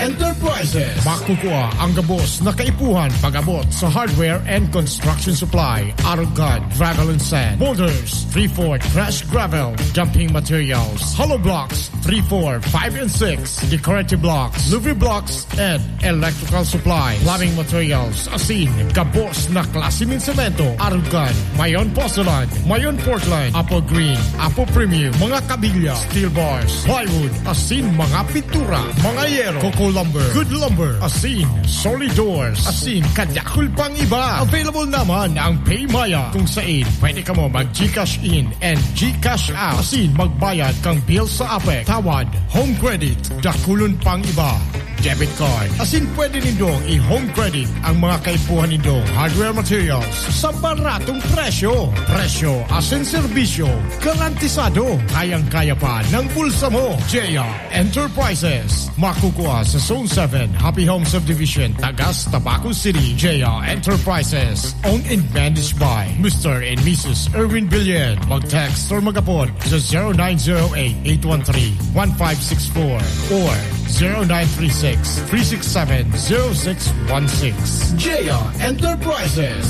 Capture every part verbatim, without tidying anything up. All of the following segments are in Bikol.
Enterprises. Makukua ang gabos na kaipuhan pag-abot sa hardware and construction supply, arog kan, gravel and sand, boulders, three-fourth crushed gravel, dumping materials, hollow blocks, three, four, five, and six, decorative blocks, louver blocks, and electrical supply, plumbing materials, asin gabos na klase nin semento, arog kan, mayon Porcelain, mayon Portland, Apple Green, Apple Premium, mga kabilya, steel bars, plywood, asin mga pintura, mga yero, coco lumber, good lumber, asin solid doors, asin kadakul pang iba. Available naman ang PayMaya, kung sain pwede kamo mag-GCash in and GCash out, asin magbayad kan bill sa APEC, tawad, home credit, dakulon pang iba. Debit card. Asin pwede nindong i-home credit ang mga kaipuhan nindong hardware materials sa baratong presyo. Presyo asin serbisyo garantisado. Kayang-kaya pa ng bulsa mo. J R Enterprises. Makukua sa Zone seven, Happy Home Subdivision, Tagas, Tabaco City. J R Enterprises. Owned and managed by Mister and Missus Erwin Billion. Mag-text or mag-apod sa zero nine zero eight, eight one three, one five six four or zero nine three six, three six seven, zero six one six. J R Enterprises.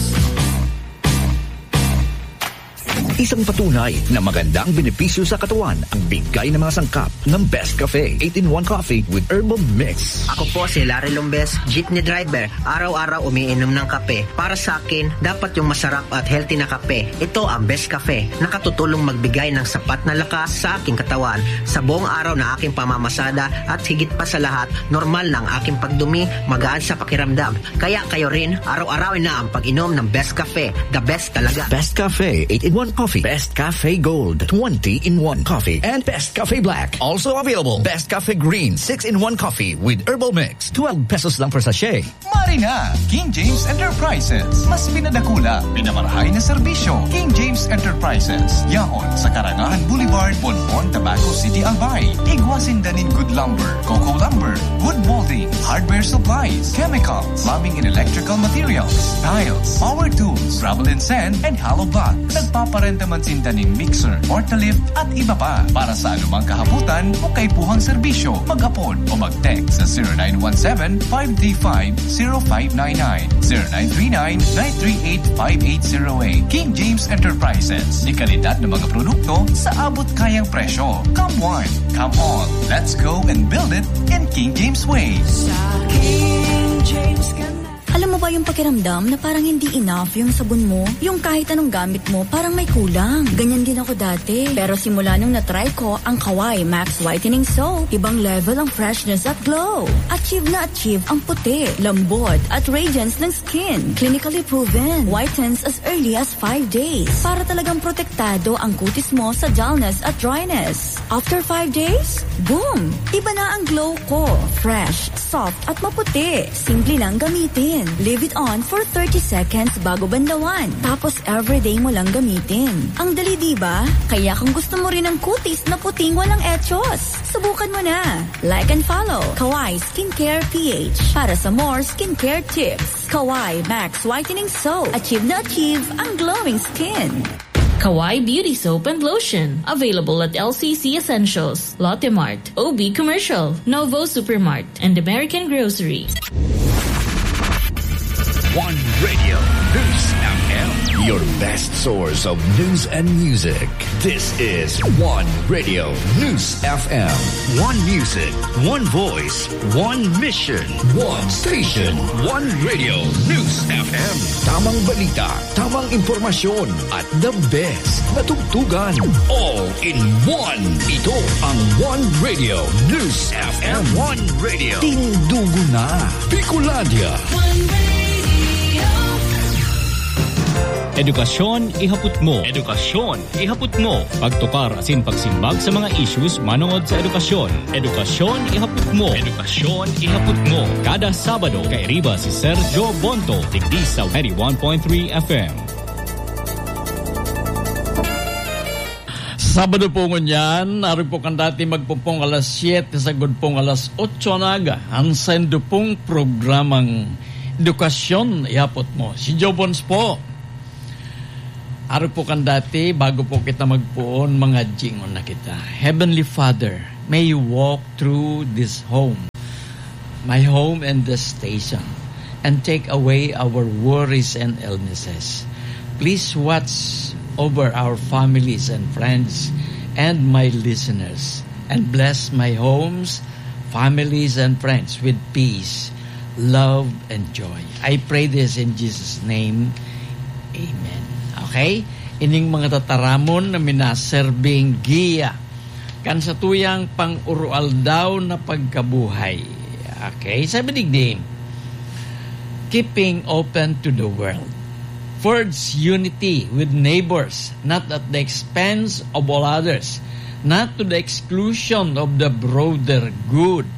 Isang patunay na magandang benepisyo sa katawan ang bigay ng mga sangkap ng Best Cafe eight-in-one Coffee with Herbal Mix. Ako po si Larry Lombes, jeepney driver. Araw-araw umiinom ng kape. Para sa akin, dapat yung masarap at healthy na kape. Ito ang Best Cafe. Nakatutulong magbigay ng sapat na lakas sa aking katawan. Sa buong araw na aking pamamasada at higit pa sa lahat, normal na ang aking pagdumi, magaan sa pakiramdam. Kaya kayo rin, araw-arawin na ang pag-inom ng Best Cafe. The best talaga. Best Cafe eight-in-one Coffee, Best Cafe Gold twenty-in-one Coffee, and Best Cafe Black. Also available, Best Cafe Green six-in-one Coffee with Herbal Mix. Twelve pesos lang per sachet. Mari na! King James Enterprises. Mas pinadakula, pinamarahay na serbisyo. King James Enterprises. Yaon sa Karangahan Boulevard, Bonbon, Tabaco City, Albay. Igwa sinda nin good lumber, coco lumber, wood molding, hardware supplies, chemical, plumbing and electrical materials, tiles, power tools, gravel and sand, and hollow blocks. Nagpaparenta man sinda nin mixer, forklift, at iba pa. Para sa anumang kahapotan o kaipuhang serbisyo, mag-apod o mag-text sa zero nine one seven, five three five, zero five nine nine, zero nine three nine, nine three eight, five eight zero eight. King James Enterprises. May kalidad na mga produkto sa abot kayang presyo. Come one, come all. Let's go and build it in King James way. Sa King James ka na. Alam mo ba yung pakiramdam na parang hindi enough yung sabon mo? Yung kahit anong gamit mo, parang may kulang. Ganyan din ako dati. Pero simula nung na-try ko ang Kawai Max Whitening Soap, ibang level ang freshness at glow. Achieve na achieve ang puti, lambot, at radiance ng skin. Clinically proven. Whitens as early as five days. Para talagang protektado ang kutis mo sa dullness at dryness. After five days, boom! Iba na ang glow ko. Fresh, soft, at maputi. Simple lang gamitin. Leave it on for thirty seconds bago banlawan. Tapos everyday mo lang gamitin. Ang dali, di ba? Kaya kung gusto mo rin ng kutis na puting walang echos, subukan mo na. Like and follow Kawai Skincare P H para sa more skincare tips. Kawai Max Whitening Soap. Achieve na achieve ang glowing skin. Kawai Beauty Soap and Lotion. Available at L C C Essentials, Lotte Mart, O B Commercial, Novo Supermart, and American Grocery. One Radio, News F M. Your best source of news and music. This is One Radio, News F M. One music, one voice, one mission. One station, One Radio, News F M. Tamang balita, tamang impormasyon, at the best na tugtugan. All in one. Ito ang One Radio, News F M. One Radio. Tindugo na, Bicolandia. One Radio. Edukasyon ihapot mo. Edukasyon ihapot mo. Pagtukar asin pagsimbag sa mga issues manongod sa edukasyon. Edukasyon ihapot mo. Edukasyon ihapot mo. Kada Sabado, kairiba si Sergio Bonto, digdi sa ninety-one point three F M. Sabado po ngunyan, arog po kan dati magpupong alas siyete sagkod pong alas otso na aga, an saindo pong programang Edukasyon ihapot mo. Si Joe Bons po. Arog po kan dati, bago po kita magpoon, mangadjingon na kita. Heavenly Father, may you walk through this home. my home and the station, and take away our worries and illnesses. Please watch over our families and friends and my listeners, and bless my homes, families, and friends with peace, love, and joy. I pray this in Jesus' name. Amen. Okay? Ining mga tataramon na minaserbing giya kan satuyang pang-uroaldaw na pagkabuhay. Okay, sabi digdi, keeping open to the world. Forge unity with neighbors, not at the expense of all others, not to the exclusion of the broader good.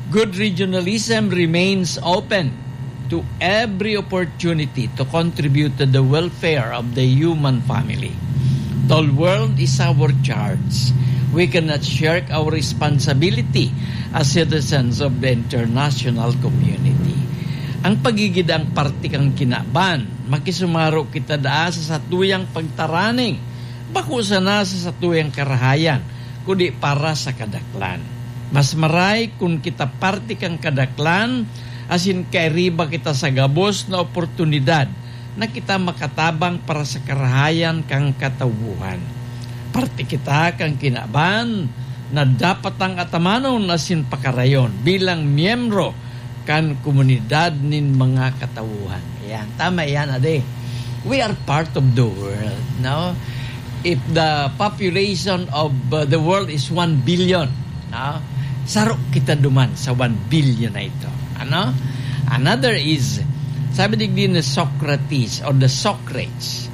Good regionalism remains open to every opportunity to contribute to the welfare of the human family. The world is our charge. We cannot shirk our responsibility as citizens of the international community. Ang pagigid ang parte kan kinaban, makisumaro kita daa sa satuyang pagtaraning, bako sana sa satuyang karahayan, kundi para sa kadaklan. Mas maray kun kita parte kan kadaklan, asin kairiba kita sa gabos na oportunidad na kita makatabang para sa karahayan kan katawohan. Parte kita kan kinaban na dapat tang atamanon asin pakarayon bilang miyembro kan komunidad nin mga katawohan. Ayan, tama yan, ade. We are part of the world, no? If the population of, uh, the world is one billion, no? Saro kita duman sa one billion na ito. Ano? Another is, sabi digdi ni Socrates or the Socrates,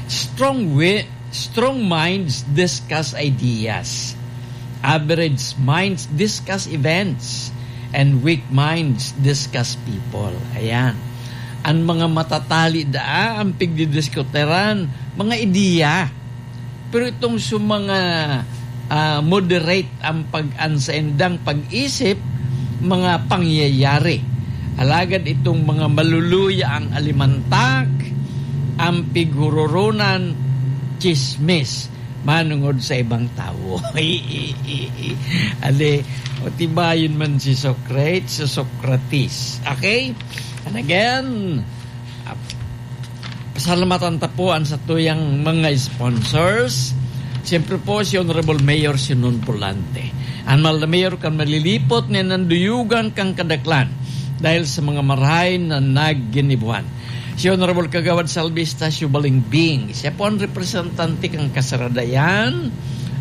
strong wi-, strong minds discuss ideas. Average minds discuss events. And weak minds discuss people. Ayan. Ang mga matatali daa, ang pigdidiskutiran, mga ideya. Pero itong sa mga, ah, moderate ang pag-, ang saindang pag-isip, mga pangyayari. Alagad itong mga maluluya ang alimantak, ang pighuroronan, chismis, manungod sa ibang tawo. Ale, o tibayon man si Socrates, si Socrates. Okay? And again, ah, pasalamatan ta po ang satuyang mga sponsors. Siyempre po, si Honorable Mayor Sinon Volante. Ang mahal na mayor kan malilipot na nanduyugan kang kadaklan dahil sa mga marahay na nagginibuhan. Si Honorable Kagawad Salvi Estacio Balingbing, siya po ang representante kan Kasaradayan,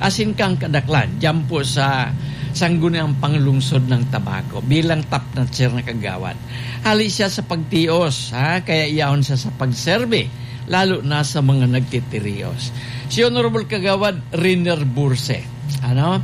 asin kan Kadaklan, diyan po sa Sangguniang Panglungsod ng Tabaco, bilang top notcher na kagawad. Hali siya sa pagtios, ha? Kaya yaon siya sa pagserbi, lalo na sa mga nagtitirios. Si Honorable Kagawad Riner Burse, ano?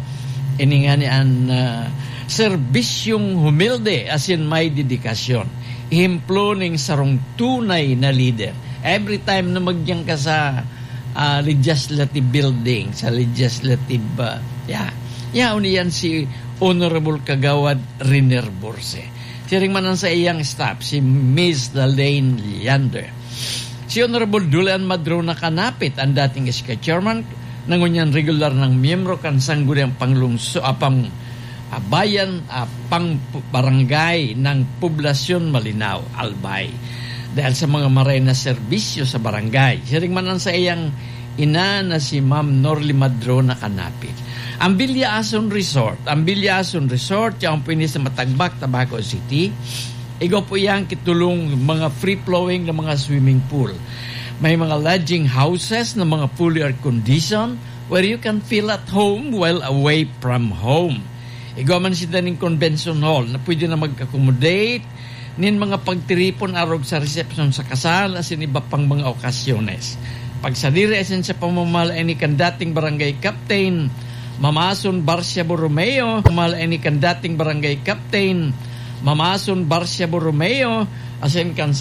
Ini nga ni an, ah, serbisyong humilde asin may dedikasyon. Ehemplo ning sarong tunay na lider. Every time na magdiyan ka sa, ah, legislative building, sa legislative, ah, ya, yaon iyan si Honorable Kagawad Riner Burse. Siring man ang sa iyang staff, si Miss Dalaine Leander. Si Honorable Dulan Madrona Kanapit, ang dating S K chairman, na ngunyan regular nang miyembro kan Sangguniang Panglungso-, ah, pang, ah, Bayan, ah, pang pu-, Barangay ng Poblasyon Malinao, Albay. Dahil sa mga maray na serbisyo sa barangay. Siring man ang sa iyang ina na si Ma'am Norly Madrona Kanapit. Ang Villa Asun Resort. Ang Villa Asun Resort, yaon po ini sa Matagbak, Tabaco City. Igwa po iyan ki tolong mga free-flowing na mga swimming pool. May mga lodging houses na mga fully air-conditioned where you can feel at home while away from home. Igwa man sinda ning convention hall na pwede na mag-accommodate nin mga pagtiripon arog sa resepsyon sa kasal asin iba pang mga okasyones. Pagsadiri asin sa pamamahala ini kan dating barangay captain, Mama Asun Barcia Borromeo, pamamahala ini kan dating barangay captain, Mama Asun Barcia Borromeo, asin kan sa